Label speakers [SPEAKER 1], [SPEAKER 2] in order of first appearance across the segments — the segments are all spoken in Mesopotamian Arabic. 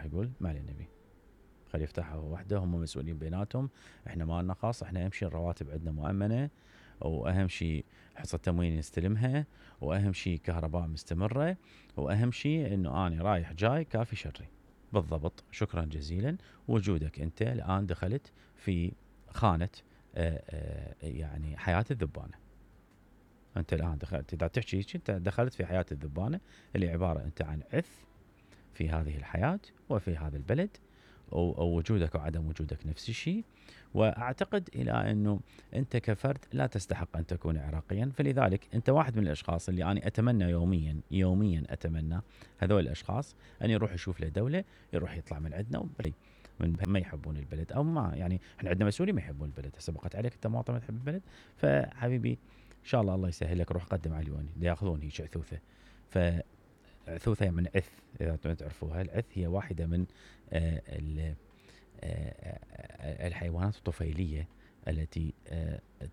[SPEAKER 1] يقول ما علينا نبي خلي يفتحها وحده، هم مسؤولين بيناتهم، احنا ما لنا خاص، احنا اهم شيء الرواتب عندنا مؤمنه، واهم شيء حصه تموين نستلمها، واهم شيء كهرباء مستمره، واهم شيء انه انا رايح جاي كافي شري. بالضبط، شكرا جزيلا. وجودك انت الان دخلت في خانه يعني حياه الذبانه. انت الان دخلت، اذا تحكي انت دخلت في حياه الذبانه اللي عباره انت عن عث في هذه الحياه وفي هذا البلد، ووجودك وعدم وجودك نفس الشيء. واعتقد الى انه انت كفرد لا تستحق ان تكون عراقيا، فلذلك انت واحد من الاشخاص اللي انا اتمنى يوميا اتمنى هذول الاشخاص ان يروح يشوف له دوله، يروح يطلع من عندنا من ما يحبون البلد، او ما يعني احنا عندنا مسؤولين ما يحبون البلد. هسه بقت عليك انت مواطن ما تحب البلد، فحبيبي ان شاء الله يسهل لك، روح قدم على اليوني ياخذون هيك عثوثه. عثوثة من عث، إذا تعرفوها، العث هي واحدة من الحيوانات الطفيلية التي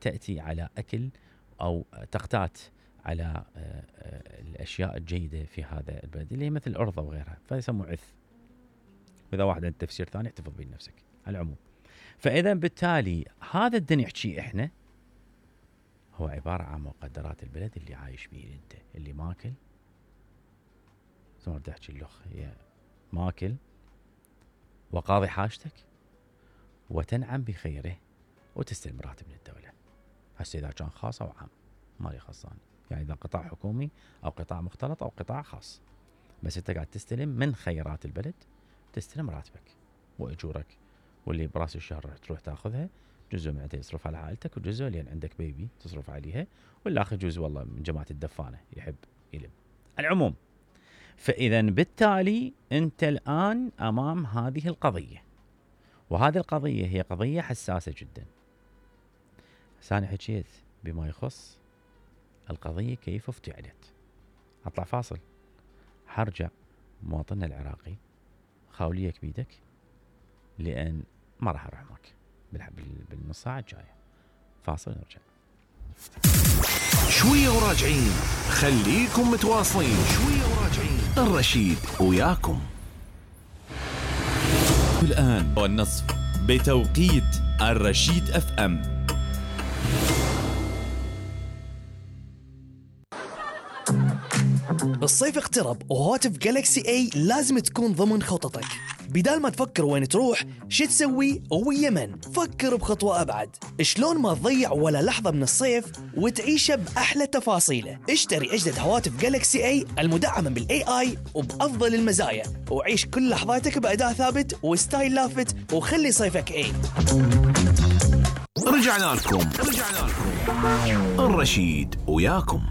[SPEAKER 1] تأتي على أكل أو تقتات على الأشياء الجيدة في هذا البلد، اللي هي مثل الأرض وغيرها، فيسموه عث. وإذا واحد عنده تفسير ثاني احتفظ به لنفسك على العموم. فإذا بالتالي هذا الدنيا يحكي إحنا هو عبارة عن مقدرات البلد اللي عايش به أنت، اللي ماكل ثم تحكي اللخ هي ماكل وقاضي حاجتك وتنعم بخيره وتستلم راتب من الدولة. هسه إذا كان خاص أو عام مالي خاصان، يعني إذا قطاع حكومي أو قطاع مختلط أو قطاع خاص، بس أنت قاعد تستلم من خيرات البلد، تستلم راتبك وأجورك، واللي براس الشهر تروح تاخذها، جزء من يصرف على عائلتك، وجزء لأن عندك بيبي تصرف عليها، والآخر جزء والله من جماعة الدفانة يحب يلم. العموم، فإذا بالتالي أنت الآن أمام هذه القضية، وهذه القضية هي قضية حساسة جدا. أنا حكيت بما يخص القضية كيف افتعلت. أطلع فاصل، حرجع مواطننا العراقي خاوليك بيدك، لأن ما راح أروح معك بالنص ساعة الجاية. فاصل نرجع.
[SPEAKER 2] شوية وراجعين، خليكم متواصلين. شوية وراجعين، الرشيد وياكم.
[SPEAKER 3] الآن والنصف بتوقيت الرشيد اف ام.
[SPEAKER 4] الصيف اقترب وهواتف جالكسي اي لازم تكون ضمن خططك. بدال ما تفكر وين تروح شو تسوي ويا من، فكر بخطوة أبعد. شلون ما تضيع ولا لحظة من الصيف وتعيشه بأحلى تفاصيله. اشتري أجدد هواتف جالكسي اي المدعمة بالاي اي وبأفضل المزايا، وعيش كل لحظاتك بأداء ثابت وستايل لافت، وخلي صيفك اي.
[SPEAKER 2] رجعنا لكم الرشيد وياكم.